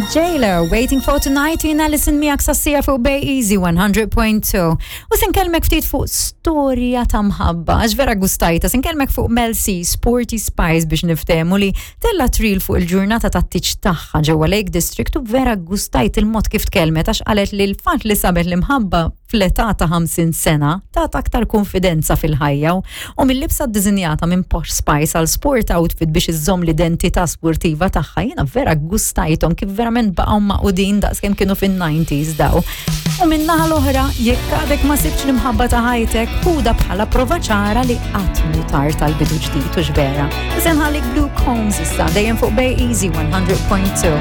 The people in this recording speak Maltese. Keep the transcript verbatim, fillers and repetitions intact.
J-Lo, Waiting for Tonight, jiena Alison miegħek sas-siegħa fuq Bay Easy one hundred point two. U se nkellmek ftit fuq storja ta' mħabba, għax vera gustajta, se nkellmek fuq Mel C, Sporty Spice biex niftehmu, li tellgħet reel fuq il-ġurnata ta' tiċ tagħha ġewwa Lake District u vera gustajt il-mod kif tkellmet, għax qalet li l-fatt li sabet l-imħabba fl-età ta' ħamsin sena tat aktar konfidenza fil-ħajja, u mill-libsa ddisinjata minn Posh Spice għal sport outfit biex iżżomm l-identità sportiva tagħha, jiena vera gustajthom kif verament baqgħu magħqudin daqskemm kienu fin-nineties daw. U min-naħa l-oħra, jekk għadek ma sibx l-imħabba ta' ħajtek, ħudha bħala prova ċara li qatt mhu tard tal-bidu ġdid u vera. Se nħallik Luke Combs issa, dejjem fuq Bay Easy one hundred point two.